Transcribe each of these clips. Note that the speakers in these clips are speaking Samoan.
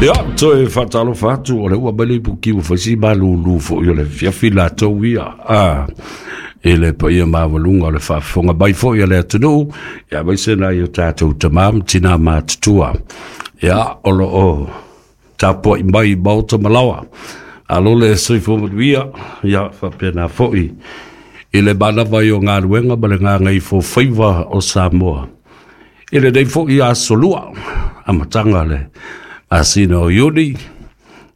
Ia, toe faatalofa atu, o le ua mai le ipuki ua faisi malūlū foʻi o le afiafi latou ia i le paia maualuga o le faafofoga mai foʻi a le atunuu, ia aemaise nai o tatou tamā ma tinā matutua, ia o loo tapuaʻi mai i maota ma laoa. Alo le soifua manuia, ia faapena foʻi i le manava ai o galuega ma le gagaifofaiva o Samoa i lenei foʻi aso lua, amataga le masina o Iuni,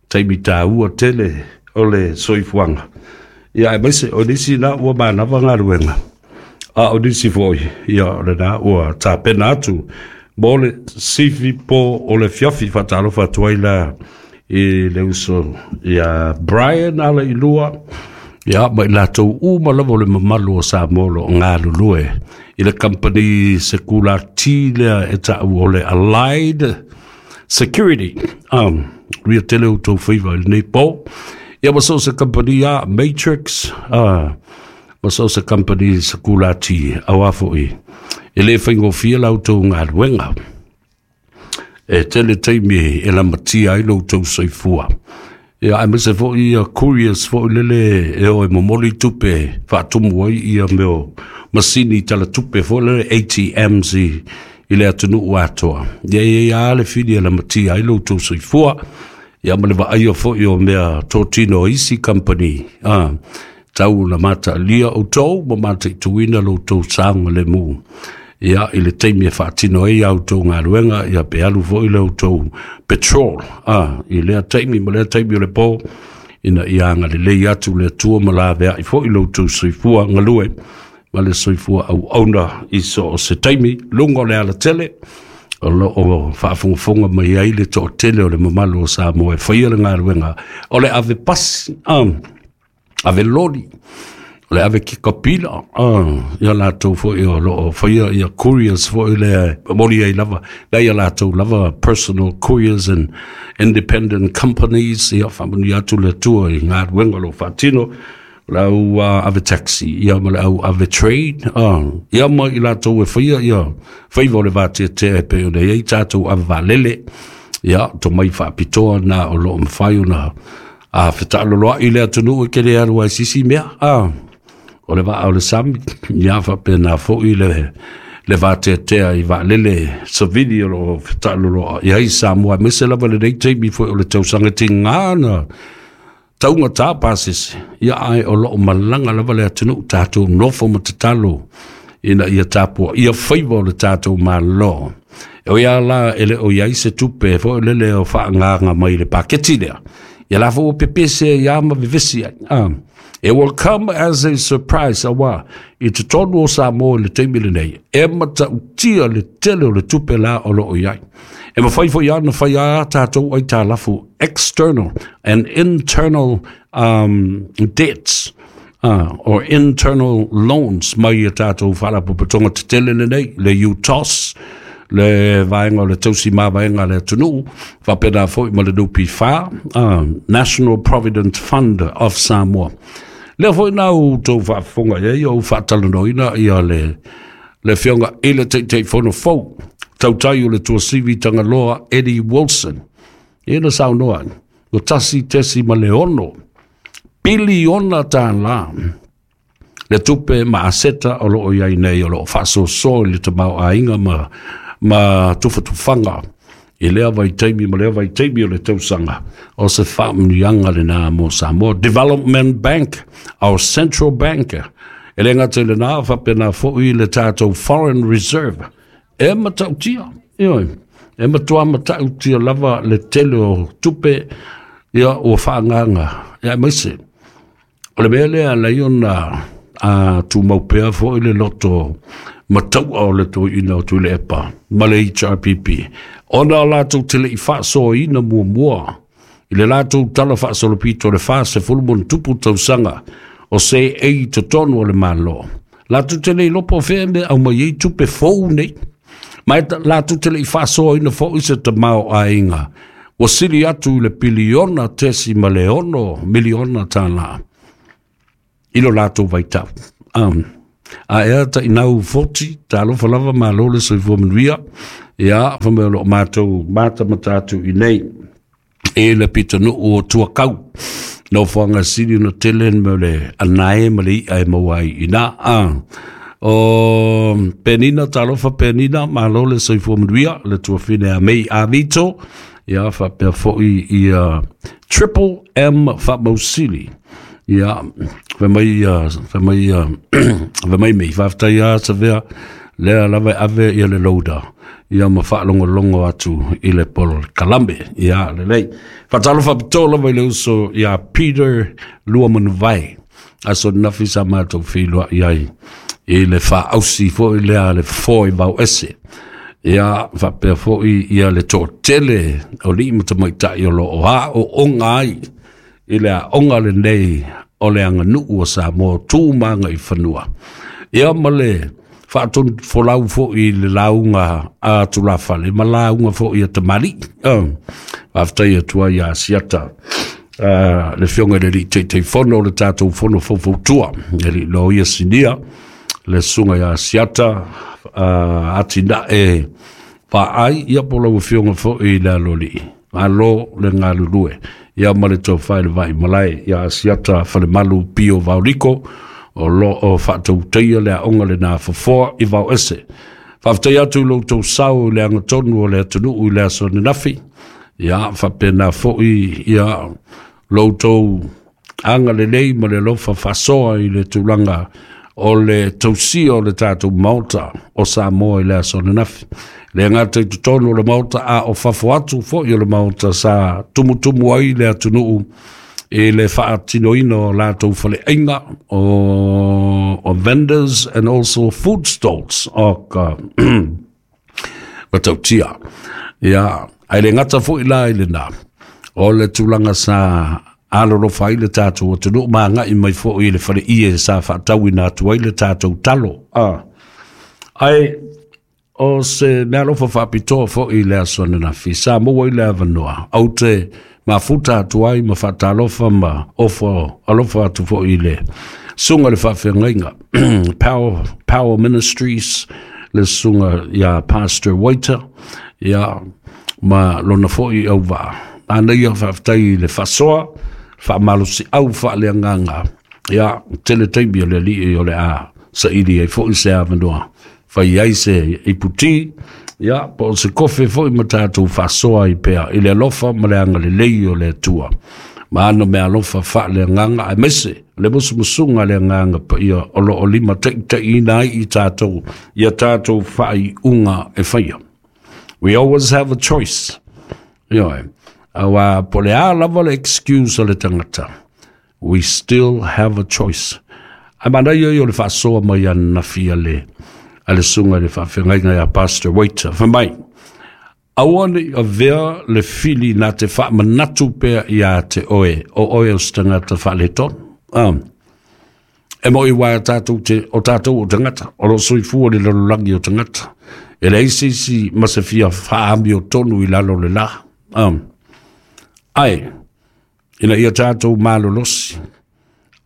taimi tāua tele o le soifuaga. Ia aemaise o nisi na ua manava galuega, a o nisi foi ia o lena ua tapena atu mo le sifi po o le fiafi. Faatalofa atu ai la i le uso ia Brian ala i lua, ia ma i latou uma lava o le mamalu o Samoa o lo o galulue i le company sekulati lea e taʻu o le Allied Security. Ria tele o tou faiva i lenei po. Ia ma so o se company a Matrix, ma so o se company sekulati auā foʻi e lē faigofie la outou galuega. E tele taimi e lamatia ai lo outou soifua. Ia aemaise foʻi ia couriers foʻi lele e o e momoli tupe faatumu ai ia mea o masini talatupe foʻi lele ATMs i le atunuu atoa. Ia e ia le fili e lamatia ai lo outou soifua. Ia ma le vaaia foʻi o mea totino o isi company tau na mataalia outou ma mataituina lo outou saogalemu. Ia i le taimi e faatino ai a outou galuega, ia pe alu foʻi le outou petrol i lea taimi ma lea taimi o le po, ina ia agalelei atu le Atua ma laveai foʻi lo outou soifua galue ma le soifua auauna i so o se taimi luga o le alatele o loo faafogafoga mai ai le toatele o le mamalu o Samoa e faia le galuega o le ave pasi, ave loli, o le ave kikapila, ia latou foʻi o loo faia ia couriers foʻi lea e momoli ai lava la ia latou lava personal couriers and independent companies. Ia faamanuia atu le Atua i galuega o lo o faatino le au ave taxi, ia ma le au ave trade, ia ma i latou e faia ia faiva o le vateatea e pei ona i ai tatou ave vaalele. Ia tomai faapitoa na o loo mafai ona fetaaloloai le atunuu e kele alu ai sisi mea o le vaa o le sami. Ia faapena foʻi le vateatea i vaalele savili o loo fetaaloloa i ai Samoa, aemaise lava lenei taimi foi o le tausaga tigā na taugata pasese. Ia ae o loo malaga lava le atunuu, tatou nofo ma tatalo ina ia tapua ia faiva o le tatou Malo. E oi a la e le o iai se tupe foi lele o faagaga mai le paketi lea, ia la fo pepese ia ma vevesi ai. It will come as a surprise aua i totonu o Samoa i le taimi lenei e matautia le tele o le tupe la o loo iai. E mafai foi ana fai a tatou aitalafu, external and internal debts or internal loans mai ia tatou faalapotopotoga tetele lenei, le UTOS, le vaega o le tausi mavaega a le atunuu, faapena foi ma le NPF, National Provident Fund of Samoa. Lea foi na outou faafofoga i ai o ou faatalanoaina ia le afioga i le Taitaifono fou, tautai o le Tuasivi Tagaloa Eddie Wilson. Ia na saunoa ai, ua $1.6 piliona le tupe ma aseta o loo iai nei o loo faasoasoa i le tamaoaiga ma tufatufaga i lea vaitaimi ma lea vaitaimi o le tausaga. O se faamanuiaga lenā mo Samoa. Development Bank, our central bank, e le gata i lenā, faapena foʻi le tatou foreign reserve e matautia, ioe, e matuā matautia lava le tele o tupe ia ua faagaga. Ia aemaise o le mea lea lai ona tumau pea foʻi le loto mataua o le toeaina o Tuilaepa ma le HRPP, ona o latou te lei faasoaina muamua i le latou tala faasolopito le 40+ tausaga o se ei totonu o le Malo. Latou te lei lopo fea me au mai ai tupe fou nei. Ma e latou te lei faasoaina foʻi se tamaoaiga ua sili atu i le $1.6 piliona i lo latou vaitau. A ea tainau foti, talofa lava, malo le soifua manuia. Ia, fa mai o loo matou mata mata atu i nei. I le pitonuu o Tuakau. Nofoaga sili ona tele le mea o le anae ma le i'a e maua ai i ina. O Penina, talofa Penina, malo le soifua manuia, le tuafine a Mei Avito, ia faapea foi ia Triple M Faamausili. Ia, fai mai, fai mai, fai mai mei, faafetai lava Savea, lea lava e ave ia le loader, ia ma faalogologo atu i le polokalame. Ia, lelei. Faatalofa faapitoa lava i le uso ia Peter Luamanuvae. Aso nafi sa matou feiloai ai i le faausi foi lea le fofo i vao ese. Ia, faapea foi ia le toatele o alii ma tamaitai o lo o aooga ai i le aoga lenei o le aganuu o Samoa tu ma agaifanua. Ia ma le faatonufolau foi i le lauga a tulafale ma lauga foi a tamalii. Faafetai atu ai ia Asiata, le afioga i le alii Taitaifono o le tatou fono faufautua, le alii loia sinia, le susuga ia Asiata Atinae Vaai, ia po o lau afioga foi i le aloalii. Malo le galulue, ia ma le tofa i le vai malae ia Asiata Falemalu Pio Vaoliko, o lo o faatautaia le aoga lena fofoa i Vaoese. Faafetai atu i lo outou sao i le agatonu o le atunuu i le aso ananafi. Ia, faapena foi ia lo outou agalelei ma le alofa faasoa i le tulaga o le tausia o le tatou Maota o Samoa i le aso ananafi. Le gata i totonu o le Maota, a o fafo atu foi o le Maota sa tumutumu ai le atunuu i le faatinoina o latou faleaiga o vendors and also food stalls o ka matautia. Ia, ae le gata foi la i lena, o le tulaga sa alolofa ai le tatou atunuu ma agai mai foi i le faleie sa faatauina atu ai le tatou talo. Ae o se meaalofa faapitoa foi i le aso ananafi, sa maua ai le avanoa, ou te mafuta atu ai ma faatalofa ma ofo alofa atu foi i le susuga i le faafeagaiga Power Ministries, le susuga ia Pastor Waiter, ia ma lona foi auvaa. Manaia, faafetai i le faasoa, faamalosiau faaleagaga, ia tele taimi o le alii o le a saili ai foi se avanoa fai ai se iputi, ia po o se kofe foi ma tatou faasoa ai pea i le alofa ma le agalelei o le Atua ma ana meaalofa faaleagaga, aemaise le musumusuga a le Agaga Paia o lo o limataitaiina ai i tatou ia tatou faaiuga e faia. We always have a choice. Ioe, aua po o le a lava le excuse a le tagata, we still have a choice. Ae manaia ia o le faasoa mai ananafi a le susuga i le faafeagaiga ia Pastor Waiter. Fai mai, aua ne i avea le fili na te faamanatu pea ia te oe, o oe o se tagata faaletonu. E moi uaea tatou te, o tatou o tagata, o lo o soifua i le lalolagi o tagata. E leai se isi ma se fia faaamiotonu i lalo o le la. Ae, ina ia tatou malolosi,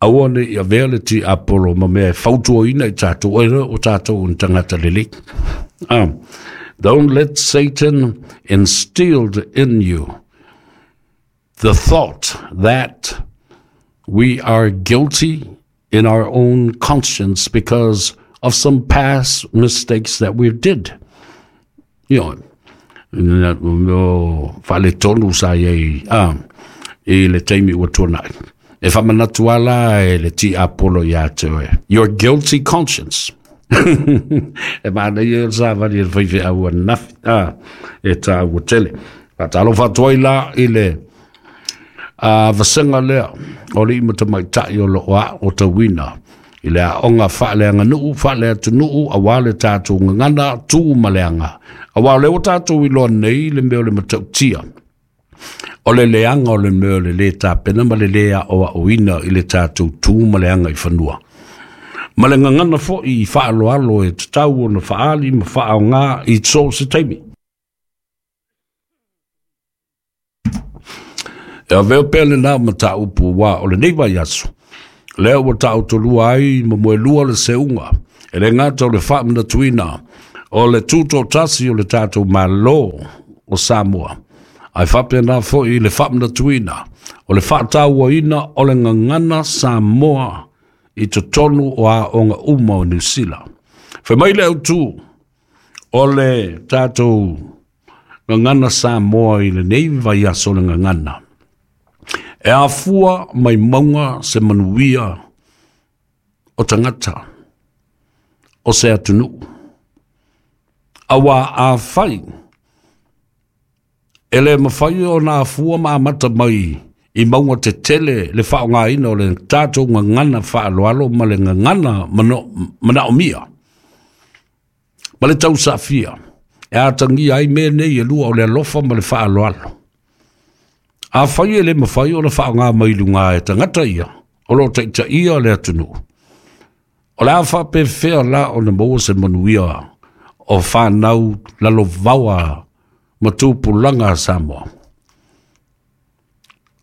aua ne i avea le tiapolo ma mea e fautuaina i tatou, e o tatou o ni tagata lelei. Don't let Satan instill in you the thought that we are guilty in our own conscience because of some past mistakes that we did. O faaletonu sa i ai i le taimi ua tuanai. E faamanatu ala e le tiapolo ia te oe. Your guilty conscience. E manaia le savali e le faifeau ananafi. E tāua tele. Faatalofa atu ai la i le vasega lea o alii ma tamaitai o lo o aotauina i le aoga faaleaganuu, faaleatunuu, aua le tatou gagana, tu ma le aga. Aua o lea ua tatou iloa nei le mea o le matautia, o le leaga o le mea o le lē tapena ma le lē aoaoina i le tatou tu ma le aga i fanua. Ma le gagana foi i faaaloalo e tatau ona faaali ma faaaoga i so o se taimi. E avea pea lena mataupu aua o lenei vaiaso, lea ua taotolua ai ma moelua le seuga, e le gata o le faamanatuina o le tutoatasi o le tatou Malo o Samoa, Ae faapena foi i le faamanatuina o le faatauaina o le gagana Samoa i totonu o aoga uma o Niu Sila. Fai mai le autu o le tatou gagana Samoa i lenei vaiaso o le gagana, e afua mai mauga se manuia o tagata o se atunuu. Auā afai e le mafai ona afua ma amata mai i mauga tetele le faaaogaina o le tatou gagana faaaloalo ma le gagana manaomia ma le tausafia e atagia ai mea nei e lua o le alofa ma le faaaloalo. Afai e le mafai ona faaaoga mai luga e tagata ia o lo o taitaia le atunuu, o le a faapefea la ona maua se manuia o fanau lalovaoa ma tupulaga a Samoa?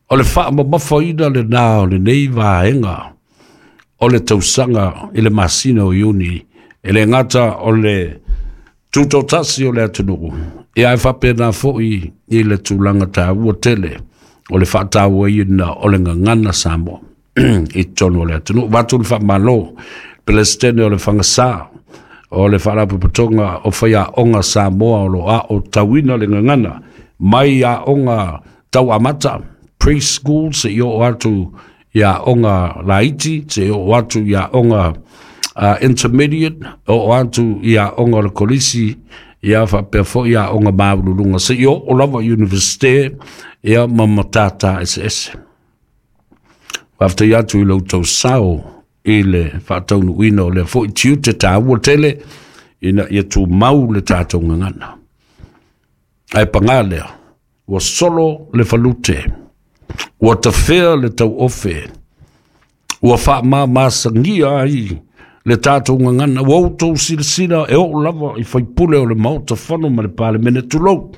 O le faamamafaina lena o lenei vaega o le tausaga i le masina o Iuni, e le gata o le tutotasi o le atunuu, ia ae faapena foi i le tulaga taua tele o le faatauaina o le gagana Samoa i totonu o le atunuu. Avatu le faamalo Pelesitene o le Fagasa o le Faalapotopotoga o Faiaoga Samoa o lo o aotauina le gagana mai aoga tau amata preschool seia oo atu i aoga laiti, seia oo atu i aoga intermediate, oo atu i aoga o le kolisi, ia faapea foi aoga maualuluga seia oo lava i Universite, ia ma matata eseese. Faafetai atu i lo outou sao i le faataunuuina o lea foi tiute taua tele ina ia tumau le tatou gagana. Ae paga lea, ua solo le falute, ua tafea le tauofe, ua faamamasagia ai le tatou gagana. Ua outou silasila e oo lava i faipule o le Maota Fono ma le Palemene, tulou,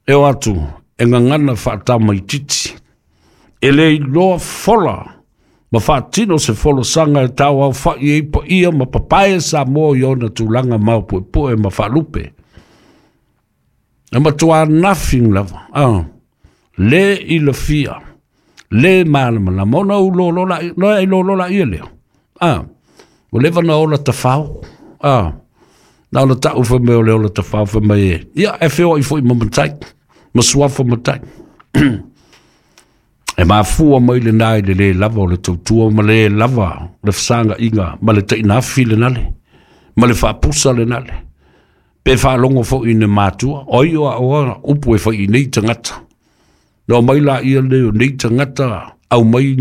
e o atu e gagana faatamaititi, e le iloa fola ma faatino se folasaga e tauaofa'i ai paia ma papae Samoa i ona tulaga maopuepue ma faalupe. E matuā nothing lava, le ilafia, le malamalama, ona ou lolo la, no e lolo la ia lea. Ua leva na ola tafao, na ona ta'u fai mai o le ola tafao fai mai e, ia e feoai foi ma matai, ma suafa matai. E mafua mai lena i le lē lava o le tautua ma le lava le fesaga'iga ma le tainafi lenale ma le faapusa lenale pe faalogo foi i ne matua o ai o aoa upu e fai i nei tagata. Na omai laia nei o nei tagata aumai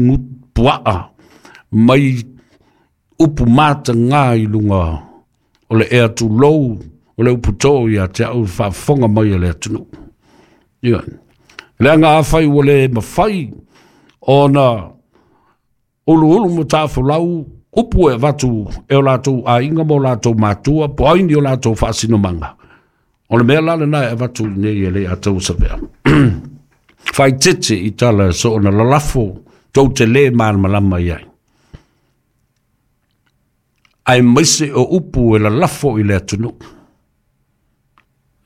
puaa mai upu matagā i luga o le ea tulou o le upu tō ia te au faafofoga mai a le atunuu. Ia, leaga afai ua le mafai ona uluulu ma tafolau upu e avatu e o latou aiga ma o latou matua po o ai ni o latou faasinomaga, o le mea la lena e avatu i nei e le atausavea. Faaeteete i tala e soona lalafo tou te lē malamalama i ai, aemaise o upu e lalafo i le atunuu.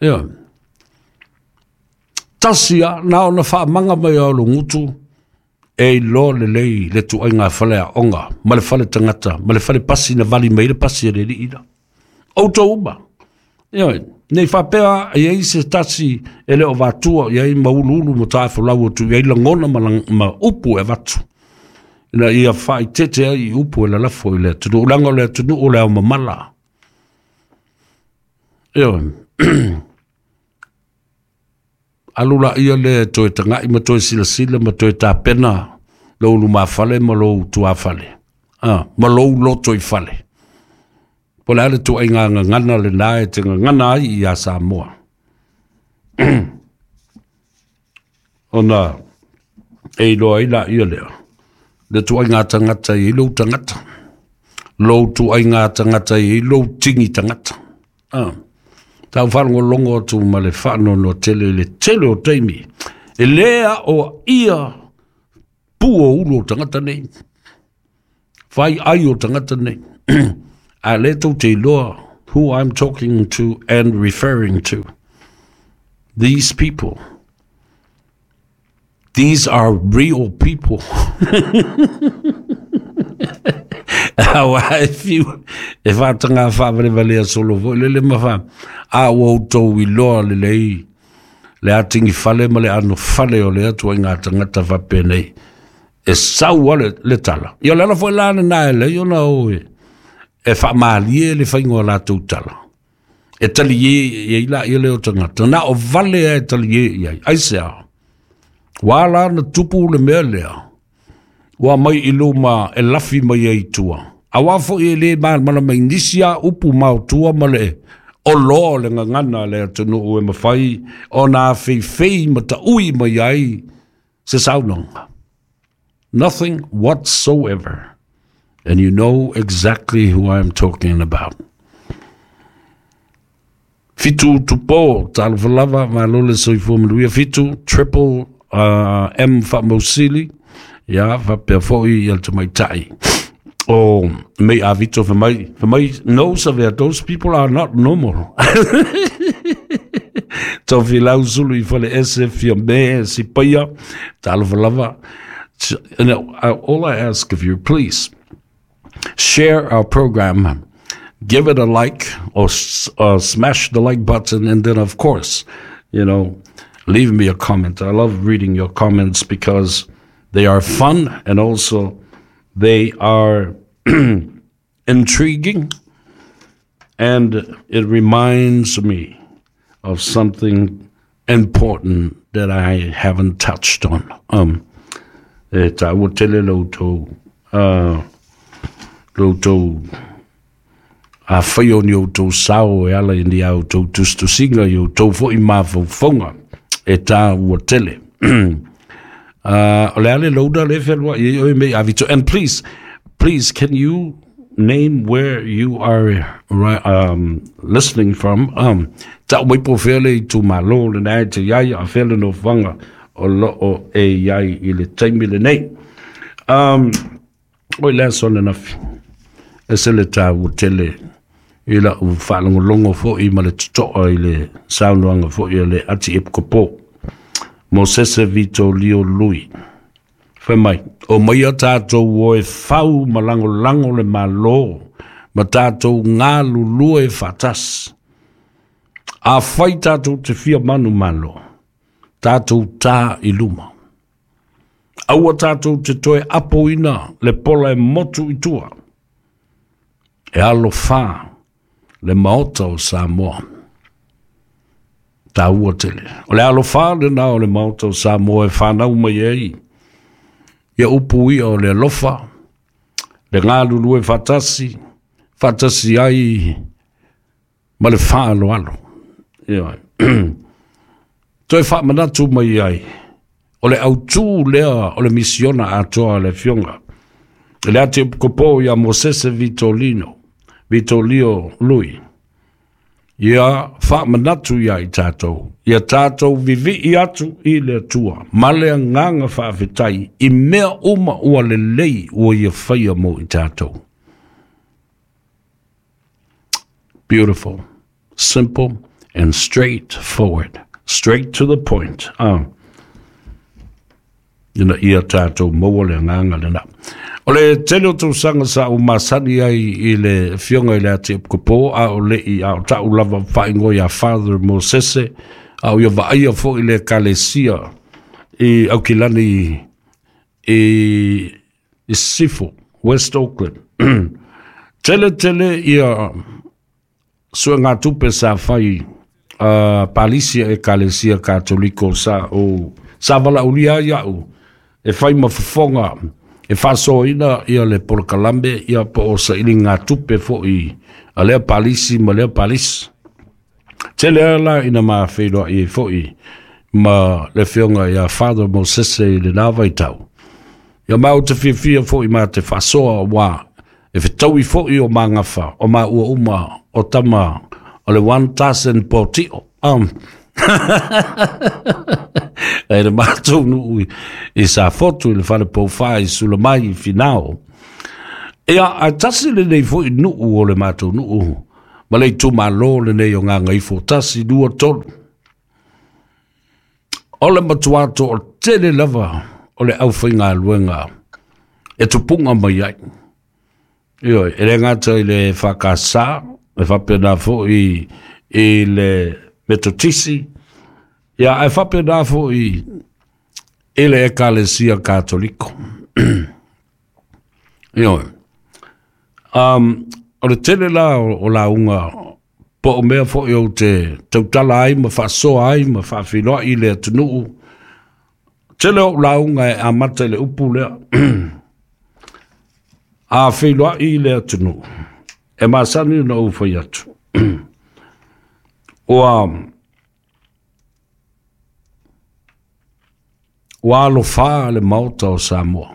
Ia, tasi a na ona faamaga mai o lugutu e iloa lelei le tuaiga fale aoga ma le fale tagata ma le fale pasi na vali mai le pasi a le alii la. Outou uma. Ia, nei faapea e i ai se tasi e le o vatua i ai ma uluulu ma tafolau atu i ai lagona ma upu e avatu ina ia faaeteete ai i upu e lalafo i le atunuu, leaga o le atunuu o le aomamala. Ia, alu laia lea e toe taga'i ma toe silasila ma toe tapena lou lumafale ma lou tuafale, ma lou loto i fale. Po o le a le tuaiga gagana lena e te gagana ai iā Samoa. Ona e iloa ai laia lea, le tuaiga tagata e i ai lou tagata, lou tuaiga tagata e i ai lou tigi tagata. Tau faalogologo atu ma le faanoanoa tele i le tele o taimi, e lē aoaia pu o ulu o tagata nei, fai ai o tagata nei. A lē tou te iloa who I'm talking to and referring to. These people, these are real people. Auā e fiu e faataga faavalevalea solo foi lele ma fa a ua outou iloa lelei le atigi fale ma le ano fale o lea tuaiga tagata faapenei e sau a le tala. Ia o le ala foi la lena e lei ona o e faamalie le faiga o latou tala. E talie i ai laia lea o tagata, na o vale lava e talie i ai. Aisea? Ua ala ona tupu le mea lea, ua aumai i luma e lafi mai ai i tua. Auā foi e le malamalama i nisi a upu maotua ma le oloa o le gagana a le atunuu e mafai ona afeifei ma taui mai ai se saunoaga. Nothing whatsoever. And you know exactly who I am talking about. Fitu Tupo, talofa lava, malo le soifua manuia. Fitu, triple M faamausili, ia, faapea foi ia le tamaitai. O mei a Vito fai mai, no Savea, those people are not normal. Tofilau Sulu i fale ese fia me si paia, talofa lava. And all I ask of you, please, share our program, give it a like or smash the like button, and then of course, you know, leave me a comment. I love reading your comments because they are fun and also they are intriguing, and it reminds me of something important that I haven't touched on. E tāua tele lo outou, lo outou afai o ni outou sao e ala i ni a outou tusitusiga i outou foi mafaufauga e tāua tele. O le a le loader le fealuai ai oe mei Avito. And please, please, can you name where you are listening from? Ta'u mai po fea le itumalo lena e te i ai, a fea le nofoaga o loo e i ai i le taimi lenei. Oi le aso ananafi, e se le tāua tele i la'u faalogologo foi ma le toto'a i le saunoaga foi a le Ati Epikopo Mosese Vitolio Lui. Fai mai, Omaia tātou o e fau ma lagolago le Malo ma tātou galulue faatasi. Afai tātou te fia manumalo, tātou tā i luma. Aua tātou te toe apoina le pola e motu i tua. E alofā le Maota o Samoa. Tāua tele. O le alofā lena o le Maota o Samoa e whanau mai ai. Ia upu ia o le alofa, le galulue faatasi, faatasi ai ma le faaaloalo. Ioe. Toe faamanatu mai ai, o le autū lea o le misiona atoa a le Afioga i le Atiepikopo ia Mosese Vitolino, Vitolio Lui, ia faamanatu iā i tātou, ia tātou vivii atu i le Atua ma le agaga faafetai i mea uma ua lelei ua Ia faia mo i tātou. Beautiful, simple and straight forward, straight to the point. Ina ia tātou maua le agaga lena. O le tele o tausaga sa ou masani ai i le Afioga i le Atiepikopo, a o le'i a o ta'u lava faaigoa ia Father Mosese, a o ia vaaia foi le Ekalesia i Aukilani i Sisifo, West Auckland. Tele tele ia suegatupe sa fai a Palisi a Ekalesia Katoliko sa o sa valaaulia ai a'u e fai ma fofoga e faasoaina ia le polokalame ia po o sailiga tupe foi a lea Palisi ma lea Palisi. Tele lava la ina ma feiloai ai foi ma le Afioga ia Father Mosese i lena vaitau. Ia ma ou te fiafia foi ma te faasoa auā e fetaui foi o magafa o maua uma o tama o le 1000 potio. E le matou nuu i Safotu i le fale poufa i Sulamai i Finao. Ia, ae tasi lenei foi nuu o le matou nuu ma le itumalo lenei o Gagaifo, 1, 2, 3. O le matua toatele lava o le aufaigaluega e tupuga mai ai. Ioe, e le gata i le EFKS, e faapena foi i le Metotisi, ia ae faapena foi i le Ekalesia Katoliko. Ioe. O le tele la o lauga po o mea foi ou te tautala ai ma faasoa ai ma faafeiloai i le atunuu, tele o lauga e amata i le upu lea. A feiloai i le atunuu, e masani ona ou fai atu. Ua alofā le Maota o Samoa.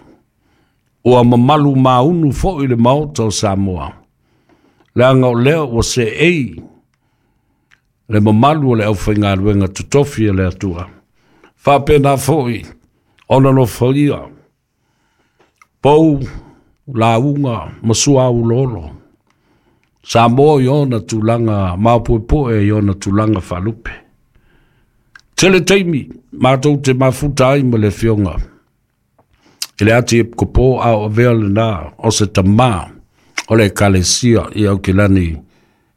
Ua mamalu maunu foi le Maota o Samoa, leaga o lea ua seei le mamalu o le aufaigaluega totofi a le Atua. Faapena foi ona nofoia pou, lauga ma suaulolo Samoa i ona tulaga maopuepue, i ona tulaga faalupe. Tele taimi matou te mafuta ai ma le afioga i le Ati Epikopo, a o avea lena o se tamā o le Ekalesia i Aukilani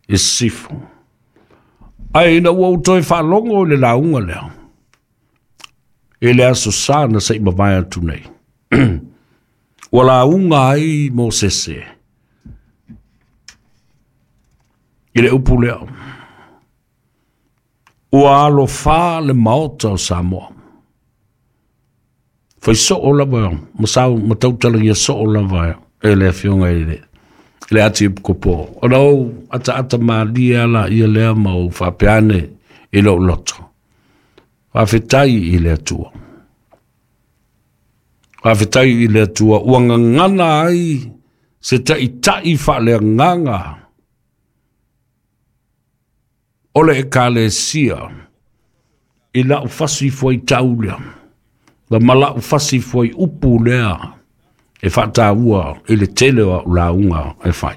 i Sisifo. Ae ina ua ou toe faalogo i le lauga lea i le Aso Sa na se i mavae atu nei, ua lauga ai Mosese i le upu lea, ua alofā le Maota o Samoa. Fai soo lava ma sau ma tautalagia soo lava e le afioga i le Ati Epikopo. Ona ou ataata malie ala ia lea ma ou faapea ane i lou loto. Faafetai i le Atua. Faafetai i le Atua ua gagana ai se taitai faaleagaga o le Ekalesia i lau fasi fuaitau lea, ma lau fasi fuaiupu lea e faataua i le tele o au lauga e fai.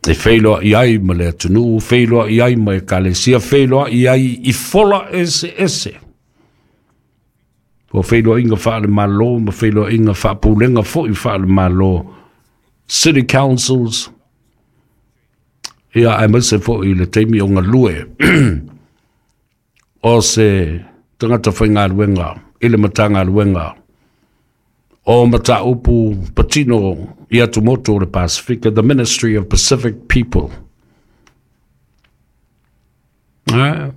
E feiloai ai ma le atunuu, feiloai ai ma Ekalesia, feiloai ai i fola eseese. O feiloaiga faale-Malo ma feiloaiga faapulega foi faale-Malo, city councils, ia aemaise foi i le taimi o galue o se tagata faigaluega i le Matagaluega o Mataupu Patino i Atumotu o le Pasifika, the Ministry of Pacific People. Ah,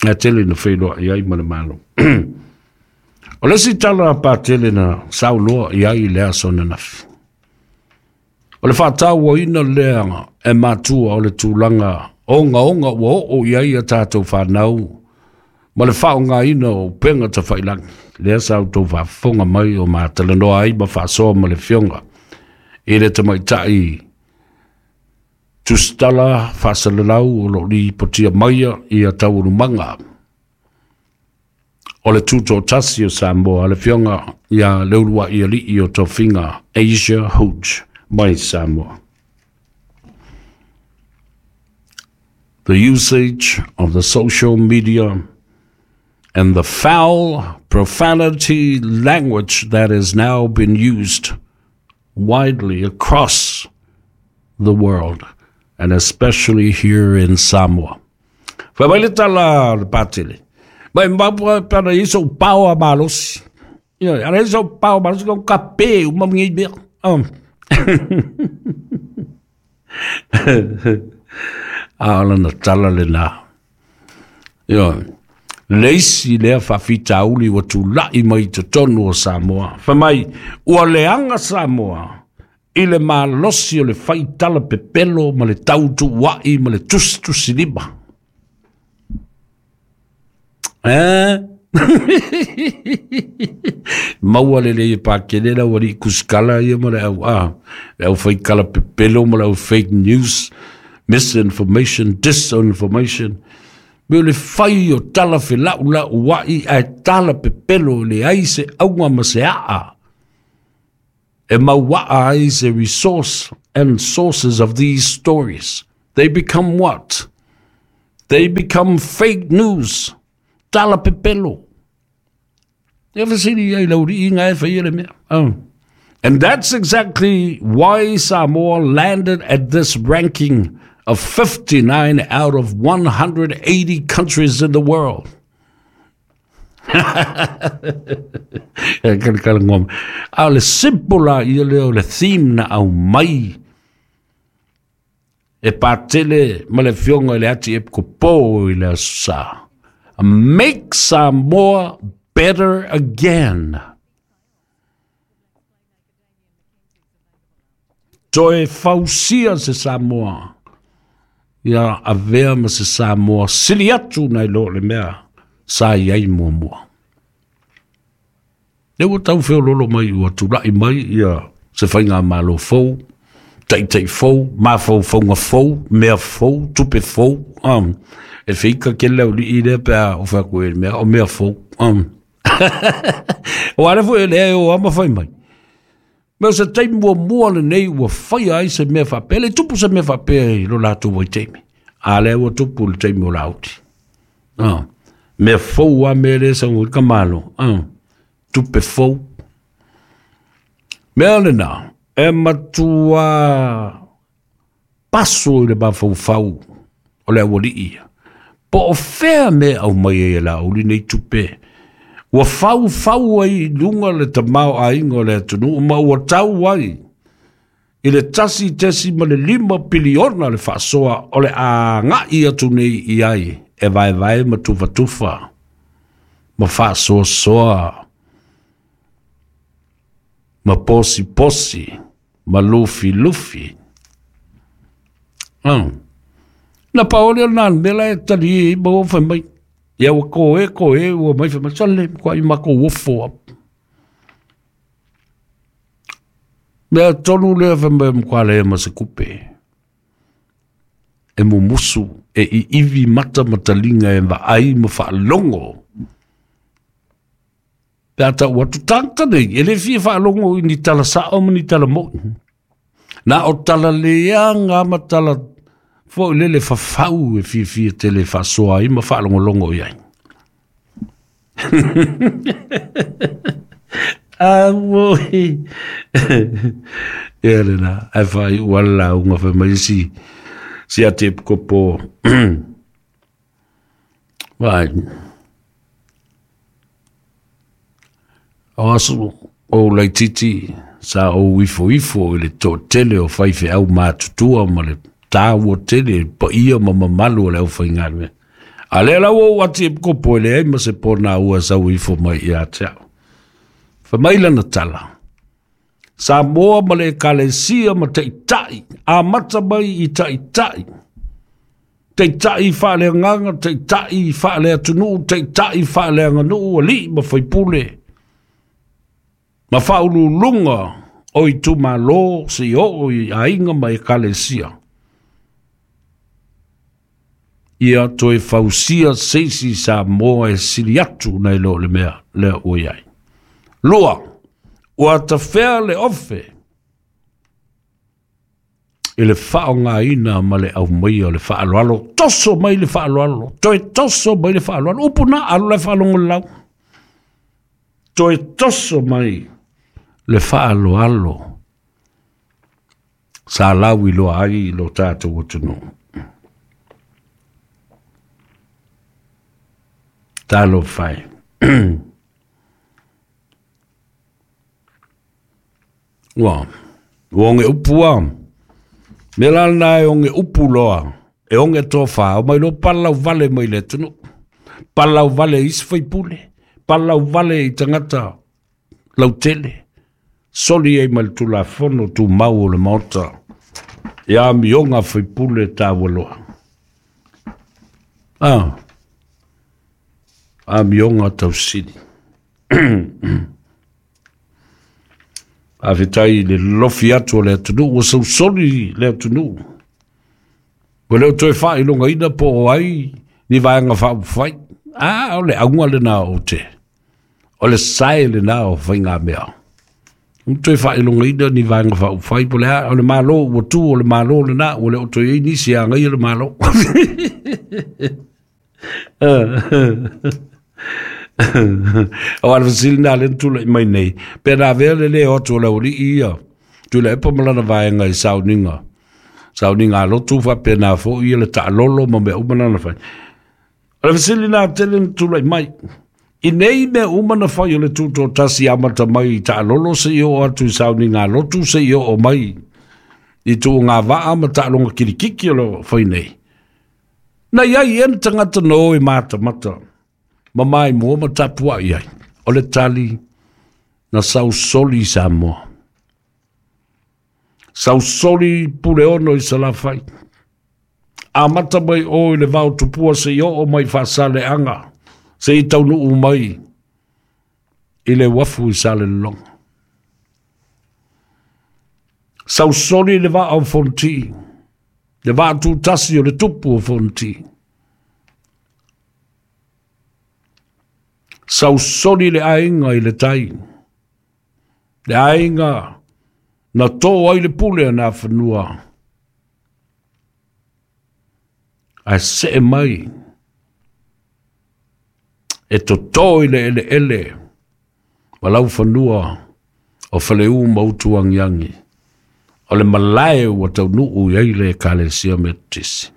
a tele na feiloai ai ma le Malo. O le isi tala patele na saunoa i ai i le aso ananafi, o le faatauaina lea e matua o le tulaga ogaoga ua oo i ai a tatou fanau ma le faaaogaina o upega tafailagi. Lea sa outou faafofoga mai o matalanoa ai ma faasoa ma le afioga i le tamaitai tusitala faasalalau o loo lipotia maia ia taualumaga o le Tutoatasi o Samoa, le afioga ia Leuluai Alii o Tofiga Asia Hooch mai Samoa. The usage of the social media and the foul profanity language that has now been used widely across the world, and especially here in Samoa. Fai mai le tala le patele. Mai mapua pana i so pao a malosi. Ia, ara i so pao malosi ko ka pe uma ngi mea. A ola na tala le na. Ia, le isi lea faafitauli ua tula'i mai totonu o Samoa. Fai mai, ua leaga Samoa i le malosi o le faitala pepelo ma le tautuua'i ma le tusitusilima. Eh? Maua le lei e pakele la ua kuskala ia ma le au a le au faikala pepelo ma le au fake news, misinformation, disinformation. Me le fai o tala felaulau ai ae tala pepelo le ai se auga ma se aa e mauaa ai se resource and sources of these stories. They become what? They become fake news. Tala pepelo. E fesili ai lau liiga e faia le mea. Oh. And that's exactly why Samoa landed at this ranking of 59 out of 180 countries in the world. E kala ngoma. A o le simple la ia lea o le theme na au mai e patele ma le fionga i le ati e kopo i le aso sa. Make Samoa better again. Toe fausia se Samoa. Ia avea ma se Samoa sili atu nai lo le mea sa i ai muamua. Le ua tau feololo mai ua tula'i mai ia se faiga malo fou, ta'ita'i fou, mafaufauga fou, mea fou, tupe fou, e feika kele auli'i lea pe a ofe atu e le mea o mea fou. O ale foi le e o ama fai mai. Me o se taimi muamua lenei ua faia ai se mea faapea, le tupu se mea faapea i lo latou vaitaimi. A lea ua tupu le taimi o Lauti. Mea fou a mea le sau i ka malo. Tupe fou. Mea lena, e matua paso i le mafaufau o le aualii ia. Po o fea mea au mai ai e Laauli nei tupe. Ua fau fau ai i luga le tamaoaiga o le atunuu ma ua tau ai i le 1.5 piliona le faasoa o le agai atu nei i ai e vaevae ma tufatufa ma faasoasoa ma posiposi ma lufilufi. Na paole o nā mea e tali e ma ua fai mai. Ia ua koe koe ua mai fai mai sale kwa i mako ofo ap. Mea tonu lea fai mai mkwa lea ma se kupe. E mumusu e i iwi mata matalinga e vaai ma whaalongo. Pe ata ua tutangata nei, e le fia whaalongo i ni tala sao ma ni tala moi. Nā o tala leanga ma tala fo lele whawhau e fia fia tele whasoa i ma whaalongolongo i ai. Amoi. Ia le na, ai whai uala unga whai mai si, si ate kopo. Vai. O aso o laititi sa o ifo ifo i le tōtele o whaiwhe au mātutua ma le tāua tele pa ia ma mamalu o le au whaingalue. A lea lau o ati e kopo e le ai ma se pōna ua sau ifo mai i a te au. Whai lana tala. Samoa ma le ekalesia ma taitai, a mata mai i taitai. Taitai whaaleanganga, taitai whaaleatunuu, taitai whaaleanganuu, ali ma whaipule. Ma whaululunga o i tumalo si o i ainga ma ekalesia. Ia toe fausia seisi Samoa e sili atu nei lo le mea lea ua iai. Lua, ua tafea le ofe i le whaongaina ma le aumaia o le whaaloalo. Toso mai le whaaloalo, toe toso mai le whaaloalo. Upu na alu le whaalongo lau. Toe toso mai le whaaloalo. Sa lau i loa ai i lo tātou atunuu. Talo whai. Ua, ua onge upu a. Me la nā e onge upu loa. E onge tō whā. O mai lo palau vale mai le tunu. Palau vale isi whaipule. Palau vale i tangata lautele. Soli ei mai le tulafono tu mau o le maota. Ia mionga whaipule tā waloa. Ah. A mionga tausili. A whitai le lofi atu o le atunuu, ua sausoli le atunuu. Ua leo toe whailonga ina po o ai ni vaenga whaupawhai. A, o le aunga le nā o te. O le sae le nā o whainga mea. U toe whailonga ina ni vaenga whaupawhai. Po le a, o le malo ua tu o le malo le nā, ua le o toe ei nisi a ngai o le malo. O le fesili lena lea na tulai mai nei, pe na avea le lē o atu o le aualii ia Tuilaepa ma lana vaega i sauniga, sauniga a lotu faapena foi ia le taalolo ma mea uma na na fai. O le fesili lena tele na tulai mai. I nei mea uma na fai o le tutoatasi amata mai i taalolo seia oo atu i sauniga a lotu seia oo mai i tuugavaa ma taaloga kilikiki o lo o fai nei. Na i ai ea ni tagata na o e matamata ma maimoa ma tapuai ai? O le tali, na sausoli i Samoa. Sausoli Puleono i Salafai. Amata mai o i le vao tupua seia oo mai i Faasaleaga, seia taunuu mai i le uafu i Salelologa. Sausoli le vaa o Fonoti, le vaa tutasi o le tupu o Fonoti. Sausoli le aiga i le tai, le aiga na tō ai le pule a Nafanua, ae see mai e totō i le eleele ma laufanua o Faleu ma Utuagiagi, o le malae ua taunuu i ai le Ekalesia Metotisi.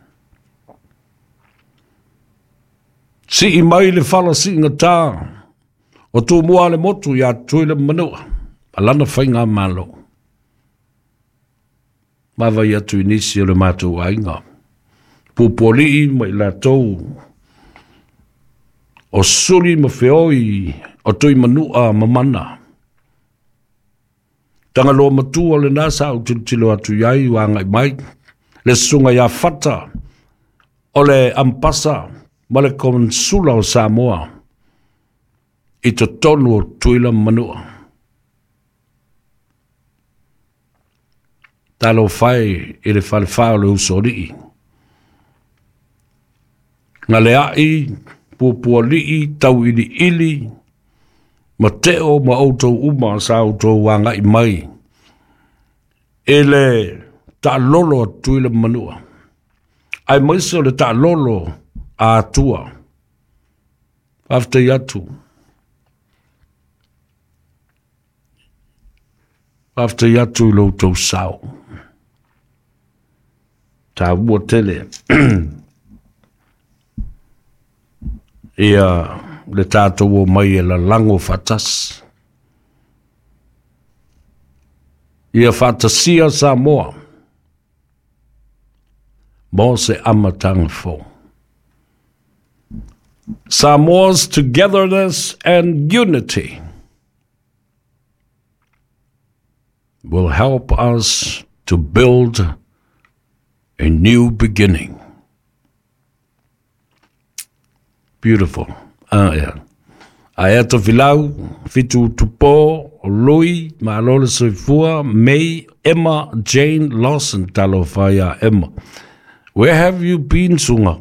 Sii mai le fala siigatā o Tumua le motu iā Tutuila ma Manua, ma lana faigamalo. Vaavaai atu i nisi o le matou aiga, Pupualii ma i latou o Suli ma Feoi o Tuimanua ma Mana. Tagaloa matua lena sa ou tilotilo atu i ai ua agai mai le susuga ia Fata o le Ampasa ma le Konsula o Samoa i totonu o Tutuila ma Manua. Talofa e i le falefa o le Usoalii. Galeai, Puapualii, Tauiliili, ma Teo ma outou uma sa outou agai mai i le taalolo a Tutuila ma Manua, aemaise o le taalolo a Atua. Faafetai atu. Faafetai atu i lo outou sao. Taua tele ia le tatou omai e lalago faatasi. Ia faatasia Samoa mo se amataga fou. Samoa's togetherness and unity will help us to build a new beginning. Beautiful. Ah, yeah. Ae Tofilau, Fitu Tupo, Lui, Malo le Soifua, May, Emma, Jane Lawson, talofa iā Emma. Where have you been, Sunga?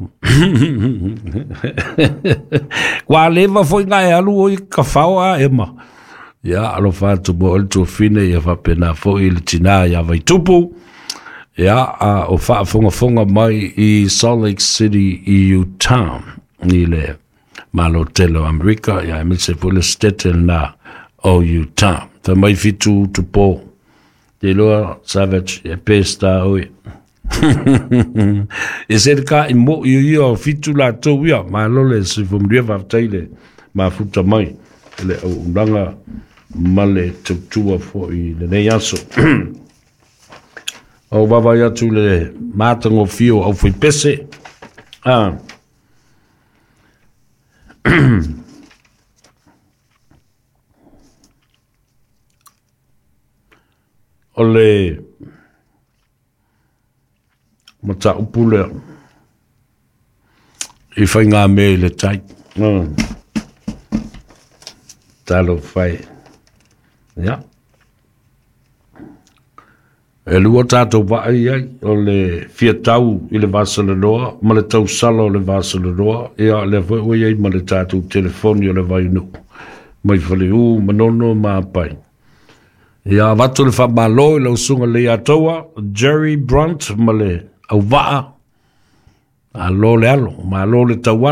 Ua leva foi nga e alu oi ka whao a Emma. Ia, alofa atu mo ole tuafine, ia faapena foi le tinā ia Vaitupu. Ia, a o faafogafoga mai i Salt Lake City i Utah, i le Malo tele o Amerika, ia aemaise foi le state lena o Utah. Fai mai Fitu Tupo, te iloa Savage, e pesta oe. E se ka i mo i ia o Fitu latou ia, malo le soifua manuia, faafetai le mafuta mai i le auaunaga ma le tautua foi i lenei aso. O vaavaai atu i le matagofie o aufaipese. Ah. O le mataupu lea i faigamea i le tai. Talofa e. Ia. E lua tatou vaa i ai, o le fia tau i le vasaloloa ma le tausala o le vasaloloa, ia lea foi ua i ai ma le tatou telefoni o le Vainuu mai Faleu, Manono ma Apai. Ia avatu le faamalo i lau susuga Leiataua, Jerry Brunt ma le auvaa, malo le alo, malo le taualo.